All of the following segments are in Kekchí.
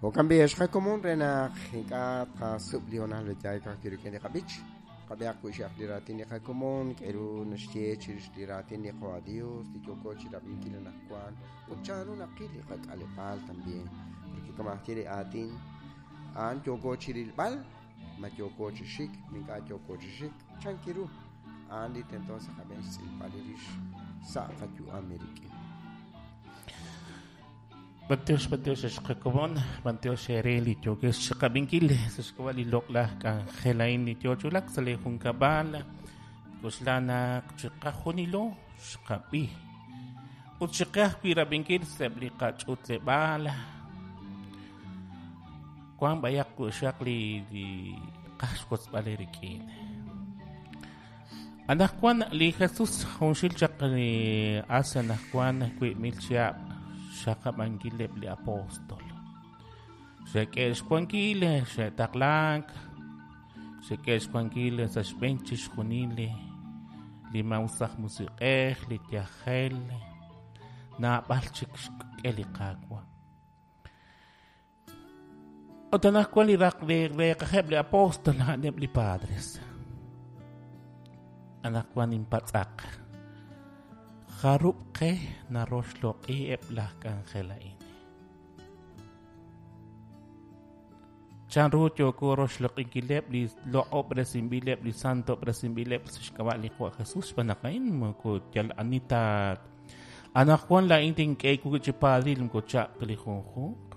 Jo'kan b'i' ex qakomon re naq ink'a' tqasub' li hoonal yaay ka'ajwi' rik'in li qab'ich. Qab'ihaq wi' li raatin li qakomon, k'aru naxye chirix li raatin li Qawa' Dios li yooko chi rab'inkil anaqwan ut chanru naqil li qak'aleb'aal también. Porque kama aj ye li aatin a'an yooko chi rilb'al, ma yooko chi xik, ma ink'a' yooko chi xik, chan kiru a'an li tento sa' qab'een xtz'ilb'al li rix sa' qayu'am eerik'in. B'antiox, b'antiox ex qakomon, b'antiox eere li yookex chiqab'inkil sa' xk'ab'a' li loq'laj k'anjel a'in li yoo chulak sa' li junkab'al. K'oxla naq chiqajunilo xqab'i ut chiqe ajwi' rab'inkil sa'eb' li qach'utleb'aal. Wank b'ayaq xaq li li qaj xwotzb'al eerik'in. Anaqwan li Jesus junxil chaq li as anaqwan 1000 chihab' xxaqab'ankileb' li apóstol. Xe'k'e xwankil, xe'taqlank, xe'k'e xwankil sa' xb'een chixjunil li maa'us aj musiq'ej, li yajel, naab'al chik xk'e li Qaawa'. Ut anaqwan li raq li reeqajeb' li apóstol a'aneb' li padres. Anaqwan inpatz'aq. Jarub' qe naroxloq'i eb' laj k'anjel a'in? Chanru yooko roxloq'inkileb' li loq'ob'resinb'ileb' li santob'resinb'ileb' sa' xk'ab'a' li Qaawa' Jesus xb'aan naq a'in moko yal ani ta anaqwan laa'in tink'e wib' chi padril moko chaq' ta li junjunq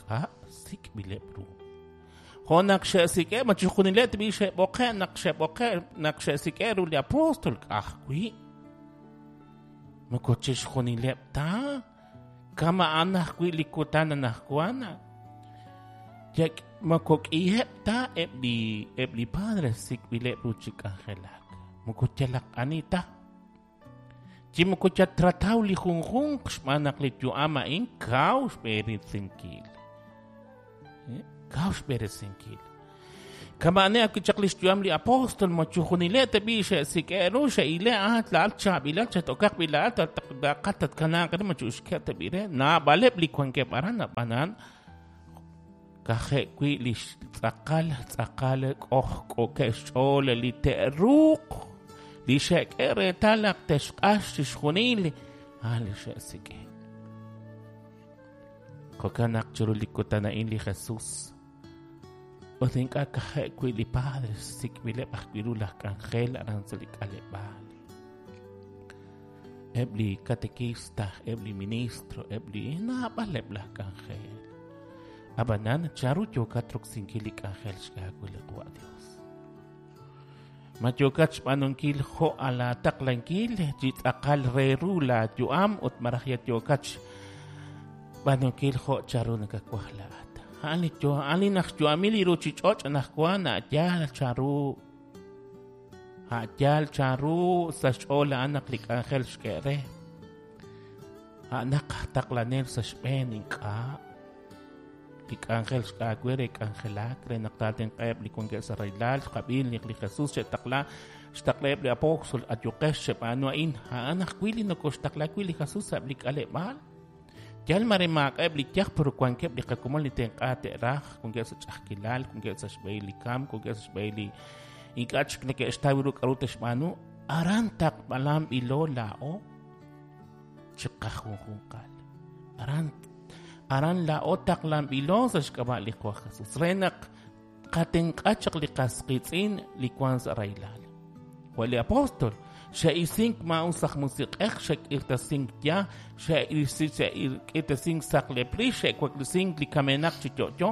k'a' sik'b'ileb' ru. Jo' naq xe'sik'e' ma chixjunileb' tb'i xe'b'oqe' naq xe'b'oqe' naq xe'sik'e' ru li apóstol ka'ajwi'. Moko chixjunileb' ta kama'an ajwi' li kutan anaqwan. Moko k'iheb' ta eb' li eb' li padre sik'b'ileb' ru chi k'anjelak. Moko yalaq ani ta. Chi moko chatrataw li junjunq xb'aan naq li yu'am a'in kaw xb'eresinkil. Kaw xb'eresinkil. Kama'ane ajwi' chaq li xyu'am li apóstol, ma chujunileb' tab'i' xe'sik'e' ru, xe'ile' ah laa'at chaab'ilal, chat'okaq b'i' laa'at, laqat tatkanaaq re, ma chu'uxkeb' tab'i' re. Naab'aleb' li wankeb' aran, ab'anan kaje' wi' li tz'aqal tz'aqal k'ojk'ookeb' xch'ool li te'ruuq li xe'k'e reetal naq te'xq'ax chixjunil a'an li xe'sik'e. Jo'kan naq chiru li kutan a'in li Jesus ut ink'a' kaje' wi' li Padre sik'b'ileb' ajwi' ru laj k'anjel aran sa' li k'aleb'aal. Eb' li katekista, eb' li ministro, eb' li naab'aleb' laj k'anjel. Ab'anan, chanru yookat roksinkil li k'anjel xk'e aawe li Qawa' Dios? Ma yookat xb'aanunkil jo' alaataqlankil chi tz'aqal re ru laayu'am ut malaj yat yookat xb'aanunkil jo' chanru nakawaj laa'at? A'an li a'an li naq xyu'amil li ruuchich'och' anaqwan a' yaal chanru a' yaal chanru sa' xch'ool a'an naq li k'anjel xk'e re. A'anaq aj taqlanel sa' xb'een ink'a'. Li k'anjel xk'aawe re k'anjelak re naq taatenq'aheb' li wankeb' sa' rahilal, xqab'i naq li Jesus xe'taqla xtaqlaheb' li apóstol, ayuqex cheb'aanu a'in. A'an ajwi' li nokoxtaqla wi' li Jesus sa'eb' li k'aleb'aal. Yal mare maak'a'eb' li yaj, pero wankeb' li qakomon li tenq'a te'raj, wankeb' sa' ch'a'ajkilal, wankeb' sa' xb'ehil li kamk, wankeb' sa' xb'ehil li ink'a' chik neke'xtaw ru k'aru te'xb'aanu. Aran taqb'alanb'ilo laa'o chiqajunjunqal. Aran aran laa'o taqlanb'ilo sa' xk'ab'a' li Qaawa' Jesus re naq qatenq'a chaq li qas qiitz'in li wank sa' rahilal. Jo' li apóstol, xe'isink maa'us aj musiq'ej, xe'k'irtasink ya, xe'k'irtasink saqlep rix, xe'waklesink li kamenaq chi yo'yo,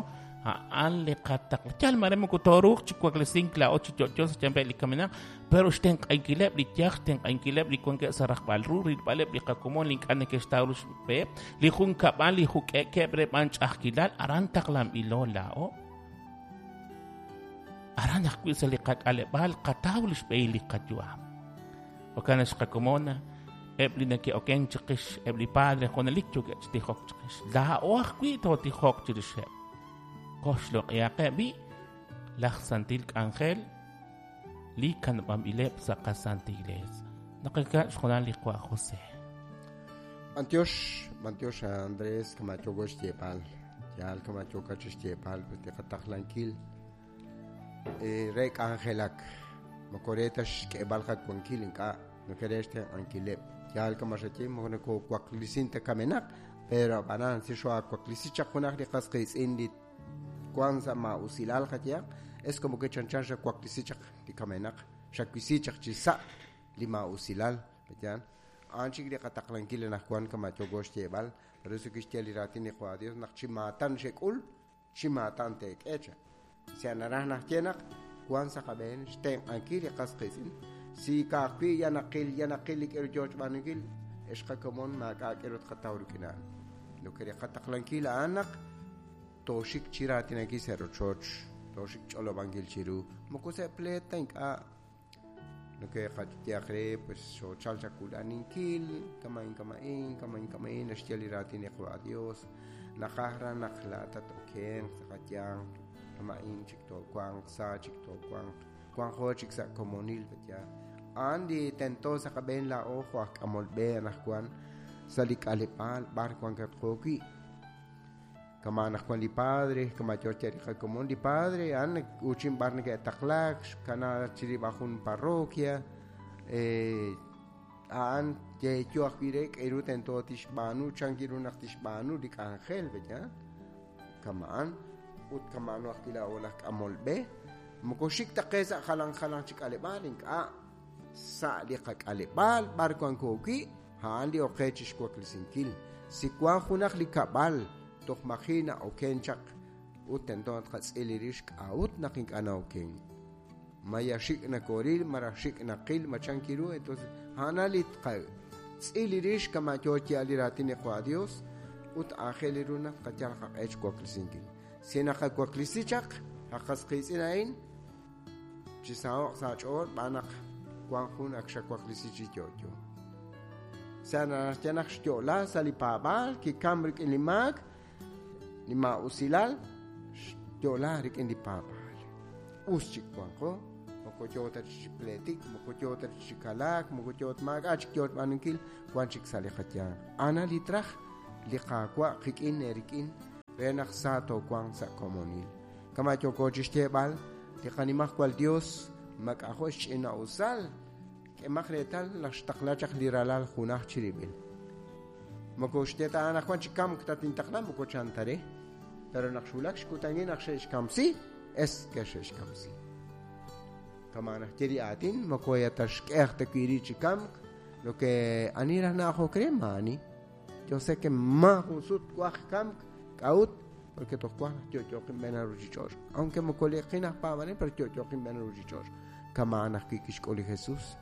a'an li qataql. Yal mare moko tooruuq chi waklesink laa'o chi yo'yo sa' xyanqeb' li kamenaq, pero xtenq'ankileb' li yaj, xtenq'ankileb' li wankeb' sa' rajb'al ru, rilb'aleb' li qakomon li ink'a' neke'xtaw ru xb'eheb', li junkab'al li juk'e'keb' re b'an ch'a'ajkilal, aran taqlanb'ilo laa'o. Aran ajwi' sa' li qak'aleb'aal qataw li xb'ehil li qayu'am. Jo'kan naq xqakomon eb' li neke'okenk chiqix, eb' li padre junelik yookeb' chi tijok chiqix. Laa'o ajwi' tootijoq chirixeb'. Qoxloq'ihaqeb' b'i' laj santil k'anjel li kanab'anb'ileb' sa' qasantil iglees. Naqakab' xjunal li Qawa' José. B'antiox, b'antiox Andrés, kama yooko xyeeb'al. Yaal kama yookat chi xyeeb'al pues li qataqlankil re k'anjelak moko re ta xk'eeb'al qawankil ink'a' moko re xtenq'ankileb'. Yaal kama xaye moko nokowaklisin ta kamenaq, pero ab'anan si xoawaklisi chaq junaq li qas qiitz'in li wan sa' ma'usilal qayehaq, es como que chanchan xawaklisi chaq li kamenaq, xawisi chaq chi sa' li ma'usilal, yaal. A'an chik li qataqlankil anaqwan kama yooko xyeeb'al, por eso kixye li raatin li Qawa' Dios naq chi maatan xek'ul, chi maatan teek'e cha. Si naraj naxye naq wan sa' qab'een xtenq'ankil li qas qiitz'in, si ka'ajwi' ya naqil li k'eru yoo xb'aanunkil, ex qakomon maak'a' k'eru tqataw rik'in a'an. Lo que li qataqlankil a'an naq tooxik chi raatinankil sa' rochoch, tooxik ch'olob'ankil chiru, moko sa' pleet ta ink'a' lo que qayehaq re pues xoochal chakulaninkil, kama'in kama'in, kama'in kama'in, naxye li raatin li Qawa' Dios, naqaj raj naq laa'at okenq sa' qayanq, kama'in chik toowanq, sa chik toowanq, wanqo chik sa' komonil ya. A'an li tento sa' qab'een laa'o jo' aj k'amol b'e anaqwan sa' li k'aleb'aal b'ar wankatqo wi'. Kama anaqwan li padre, kama yoo xye li qakomon li padre, a'an uuchin b'ar neke'taqlaak, xkana chirib'a jun parroquia, a'an yeeyo ajwi' re k'eru tento tixb'aanu, chan ru naq tixb'aanu li k'anjel, ya. Kama'an ut kama'ano ajwi' laa'o laj k'amol b'e, moko xik ta qe sa' jalan jalan chi k'aleb'aal, ink'a' sa' li qak'aleb'aal b'ar wanko wi', a'an li oqe chi xwaklisinkil. Si wan junaq li kab'al toj maji' na'oken chaq ut tento tqatz'il rix k'a'ut naq ink'a' na'oken. Maya xik' nakoril, maraj xik' naqil, machan kiru, entonces a'an li tqatz'il rix kama yoo xyeeb'al li raatin li Qawa' Dios ut aajel ru naq tqayal qaq'e xwaklisinkil. Si naqawaklisi chaq qas qiitz'in a'in, chi saho'q sa' ch'ool b'aan naq wan jun ak xawaklisi chi yo'yo. Sa' naxye naq xyo'la sa' li paab'aal, kikam rik'in li maak, li ma'usilal, xyo'la rik'in li paab'aal. Us chik wanqo, moko yoo ta chi pleetik, moko yoo ta chi kalaak, moko yoo ta maak'a' chik yoo xb'aanunkil, wan chik sa' li qayanq. A'an li traj li Qaawa' qik'in eerik'in re naq sa toowanq sa' komonil. Kama yooko chi xyeeb'al, li qanimajwal Dios mak'ajo' xch'ina'usal, k'emaq reetal naq xtaqla chaq li ralal junaj chirib'il. Moko xye ta anaqwan chi kamk tatintaqla, moko chan ta re. Pero naq xwulak xkutankil naq xe'xkamsi, es que xe'xkamsi. Kama naxye li aatin, moko ya ta xk'ej ta wi' ri chi kamk, lo que ani raj na'ajok re maani. Yo sé que ma jun sut waj kamk, k'a'ut, porque toj waj naq yo'yoqin b'een ruchich'och'. Aunque moko liqin aj paab'anel, pero yo'yoqin b'een ruchich'och'. Kama naq wi' kixk'ul li Jesús.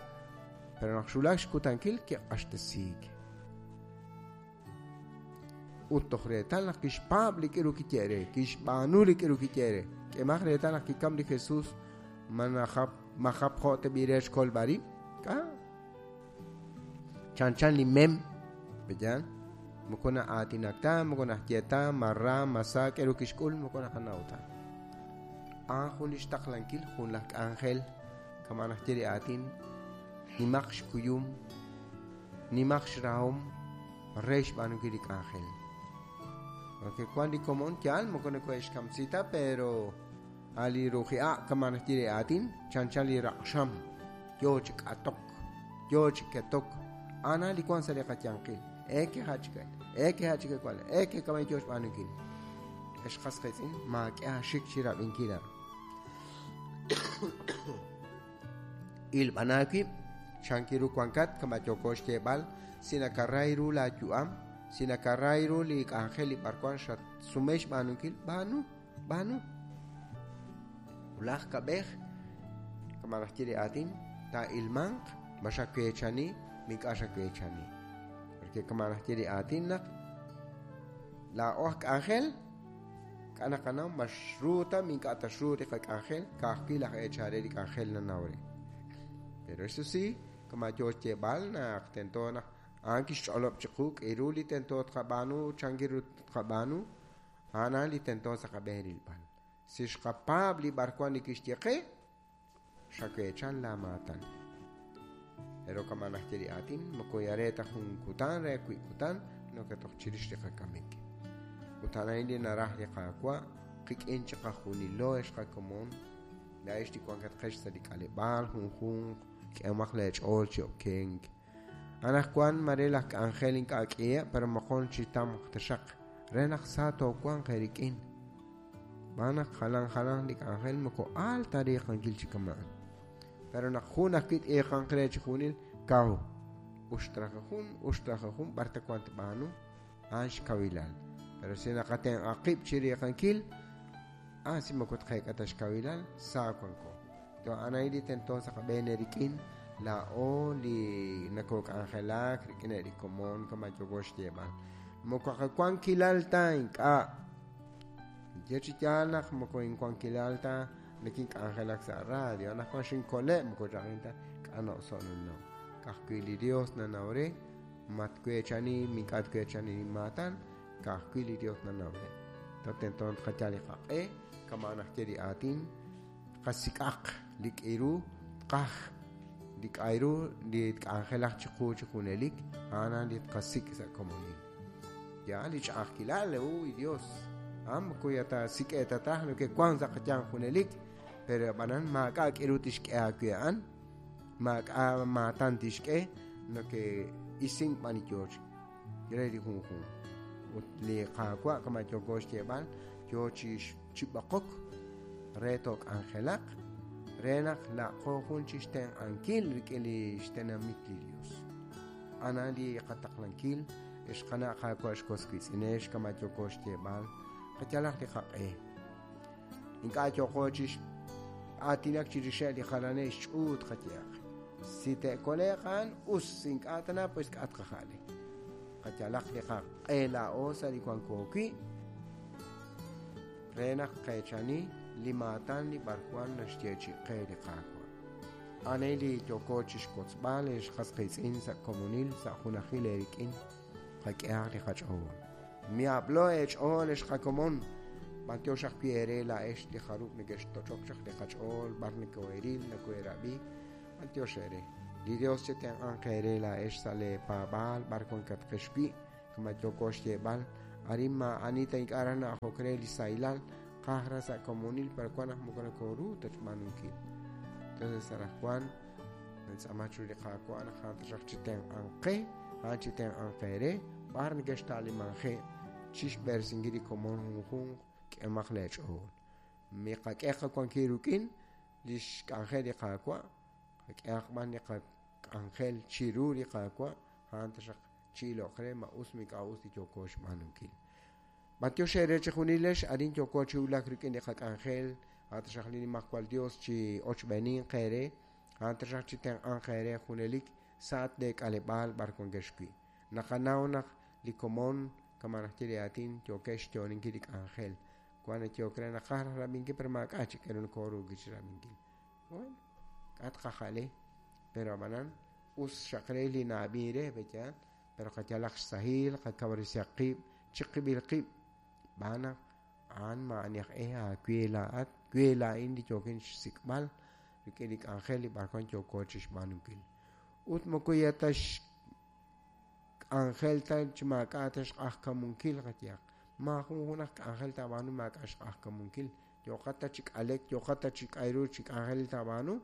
Pero naq xwulak xkutankil kiq'axtesiik. Ut toj reetal naq kixpaab' li k'eru kiye're, kixb'aanu li k'eru kiye're. K'emaq reetal naq kikam li Jesús, majap jo' teb'i re xkolb'al rib'. K'a? Chan chan li mem, ¿verdad? Moko na'aatinak ta, moko naxye ta, marra, masa, k'eru kixk'ul, moko naqanaw ta. A'an jun li xtaqlankil, jun laj k'anjel, kama naxye li aatin, nimaq xkuyum, nimaq xrahom, re xb'aanunkil li k'anjel. Porque cuando li komon yaal, moko nakohe'xkamsi ta, pero ali ruji'a kama naxye li aatin, chan chan li raq'xam, yoo chi k'atok, yoo chi ketok, ana li wan sa' li qayanqil. Eke hachikal, eke hachikal kwal, eke kamay yoo xb'aanunkil. Ex qas qiitz'in, maak'e axik chi rab'inkil a'an. Ilb'anaawib', chankiru wankat, kama yooko xyeeb'al, si nakaray ru laayu'am, si nakaray ru li k'anjel li b'arwan xatsume xb'aanunkil, b'aanu, b'aanu. Wulaj kab'ej, kama naxye li aatin, taa'ilmanq, ma xaweechani, mink'a' xaweechani. Porque kama naxye li aatin naq laa'o aj k'anjel, k'a naqanaw ma xru ta, mink'a' ta xru li qak'anjel, ka'ajwi' laj eechal re li k'anjel nanaw re. Pero eso sí, kama yoo xyeeb'al naq tento naq a'an kixch'olob' chiqu k'eru li tento tqab'aanu, chanki ru tqab'aanu, a'an a'an li tento sa' qab'een rilb'al. Si xqapaab' li b'arwan li kixye qe, xaweechan laamaatan. Pero kama naxye li aatin, moko ya re ta jun kutan re wi' kutan, no que toj chirix li qakamik. Ut Ut a'an li naraj li Qaawa' qik'in chiqajunilo ex qakomon, laa'ex li wankatqex sa' li k'aleb'aal junjunq, k'ehomaq leech'ool chi okenk. Anaqwan mare laj k'anjel ink'a' k'iheb', pero moqon chi tamq taxaq re naq sa toowanq eerik'in. Xb'aan naq jalan jalan li k'anjel moko aal ta riiqankil chi kama'an. Pero naq jun ajwi' t'iiqanq re chi junil, kaw. Uxtraja jun, uxtraja jun, b'ar ta wank tb'aanu, a'an xkawilal. Pero si naqatenq'a qib' chi riiqankil, si moko tqeek'a ta xkawilal, sa wanko. To a'an a'in li tento sa' qab'een eerik'in, laa'o li nakok'anjelak rik'in li komon kama yooko xyeeb'al. Moko qawankilal ta ink'a'. Ye chi yaal naq moko inwankilal ta nakink'anjelak sa' radio, anaqwan xinkole' moko chaqin ta k'ano'so' nanaw. Ka'ajwi' li Dios nanaw re, matweechani, mink'a' tweechani maatan, ka'ajwi' li Dios nanaw re. To tento tqayal li qaq'e, kama najye li aatin, qasik'aq li k'iru tqaj, li k'ayru li tk'anjelaq chiqu chi junelik, a'an li tqasik' sa' komonil. Ya li ch'a'ajkilal, uy Dios, moko ya ta sik'eetataj lo que wank sa' qayanq junelik, pero ab'anan maak'a' k'iru tixk'e aawe a'an, maak'a' maatan tixk'e, lo que isink b'an li yooch re li junjunq. Ut li Qaawa' kama yooko xyeeb'al, yoo chi b'oqok re took'anjelaq, re naq laaqo jun chi xtenq'ankil rik'in li xtenamit li Dios. Ana li qataqlankil, ex qana' Qaawa' xkos wiitz'inex kama yooko xyeeb'al, qayalaq li qaq'e. Ink'a' yooko chi aatinak chirixeb' li jalaneb' xch'uut qayehaq. Si te'kole'q a'an, us, ink'a' tana, pues k'a' tqaja'le. Qayalaq li qaq'e laa'o sa' li wanko wi', re naq qeechani li maatan li b'arwan naxyeechi'i qe li Qaawa'. A'an li yooko chixwotzb'al ex qas qiitz'in sa' komonil, sa' junajil eerik'in, qak'ehaq li qach'ool. Miablo eech'ool ex qakomon, b'antiox ajwi' eere laa'ex li jarub' neke'xtoch'ok chaq li qach'ool, b'ar neko'eril, neko'erab'i, b'antiox eere. Li Dios chetenq'anq eere laa'ex sa' leepaab'aal, b'ar wankatqex wi', kama yooko xyeeb'al, arin maa'ani ta ink'a' raj na'ajok re li sahilal, qaj raj sa' komonil, pero wan naq moko nakoru ta xb'aanunkil. Entonces anaqwan nantz'aama chiru li Qaawa' naq a'an taxaq chitenq'anq qe, a'an chitenq'anq eere, b'ar neke'xta'limanje' chixb'eresinkil li komon junjunq, k'ehomaq leech'ool. Miqak'e qawankil rik'in li xk'anjel li Qaawa', qak'ehaq b'an li qak'anjel chiru li Qaawa', a'an taxaq chi'iloq re ma us mink'a' us li yooko xb'aanunkil. B'antiox eere chi junilex, arin yooko chi wulak rik'in li qak'anjel, a'an taxaq li Nimajwal Dios chi ochb'eeninq eere, a'an taxaq chi tenq'anq eere junelik sa' leek'aleb'aal b'ar wankex wi'. Naqanaw naq li komon kama najye li aatin yookex xyo'oninkil li k'anjel. Wan yook re naqaj raj rab'inkil, pero maak'a' chik k'aru nokooruuk chi rab'inkil. Bueno, k'a' tqaja'le, pero ab'anan us xaq re li na'ab'in re, b'eya, pero qayalaq xsahil, qakawresihaq qib', chiqib'il qib', b'aan naq a'an ma'ani aj e aawe laa'at, we laa'in li yookin xsik'b'al rik'in li k'anjel li b'ar wan yooko chi xb'aanunkil. Ut moko ya ta xk'anjel ta chi maak'a' ta xq'ajkamunkil qayehaq. Maajun jun aj k'anjel taab'aanu maak'a' xq'ajkamunkil. Yooqat ta chi k'alek, yooqat ta chi k'ayru chi k'anjel taab'aanu,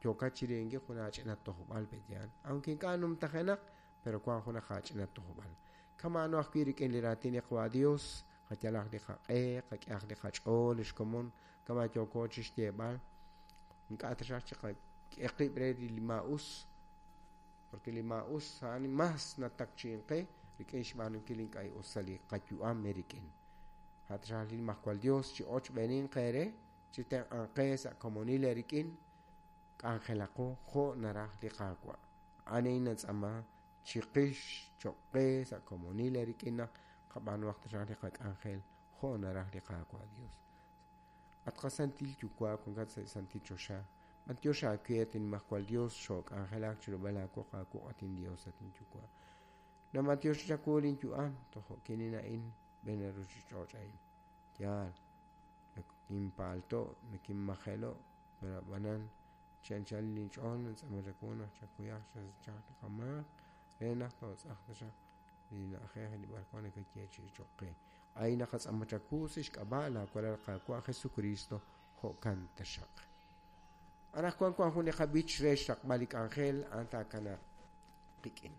yooqat chi ri'inkil jun aach'ina tojb'al pe'yaal. Aunque ink'a' numtajenaq, pero wan jun aach'ina tojb'al. Kama'ano ajwi' rik'in li raatin li Qaawa' Dios, qayalaq li qaq'e, qak'ehaq li qach'ool, li xkomon, kama yooko chi xyeeb'al. Ink'a' taxaq chi qak'e qib' re li maa'us, porque li maa'us a'an mas natakchi'in qe rik'in xb'aanunkil ink'a' us sa' li qayu'am rik'in. A'an li Nimajwal Dios chi ochb'eeninq eere, chi tenq'anq qe sa' komonil eerik'in, k'anjelaqo jo' naraj li Qaawa'. A'an natz'aama chiqix cho'q qe sa' komonil eerik'in naq qab'aanuhaq taxaq li qak'anjel jo' naraj li Qaawa' Dios. At qasantil Yuwa' wankat sa' santil choxa, b'antiox aawe at Nimajwal Dios xook'anjelak chirub'el aawoq aawoq at in Dios at inyuwa'. Namatiox chawu linyu'am tojo' kinin a'in b'en ruchich'och' a'in. Yaal, nakinpaalto', nakinmajelo', pero ab'anan chi anchal linch'ool nantz'aama chawu naq chakuyaq chasachaq li qamaak re naq tootz'aq taxaq li na'ajej li b'ar wan nakayeechi'i cho'q qe. A'in naqatz'aama chawu sa' xk'ab'a' laawalal Qaawa' Jesucristo, jo'kan taxaq. Anaqwan wank jun li qab'ich re xraqb'al li k'anjel, a'an taakanaaq qik'in.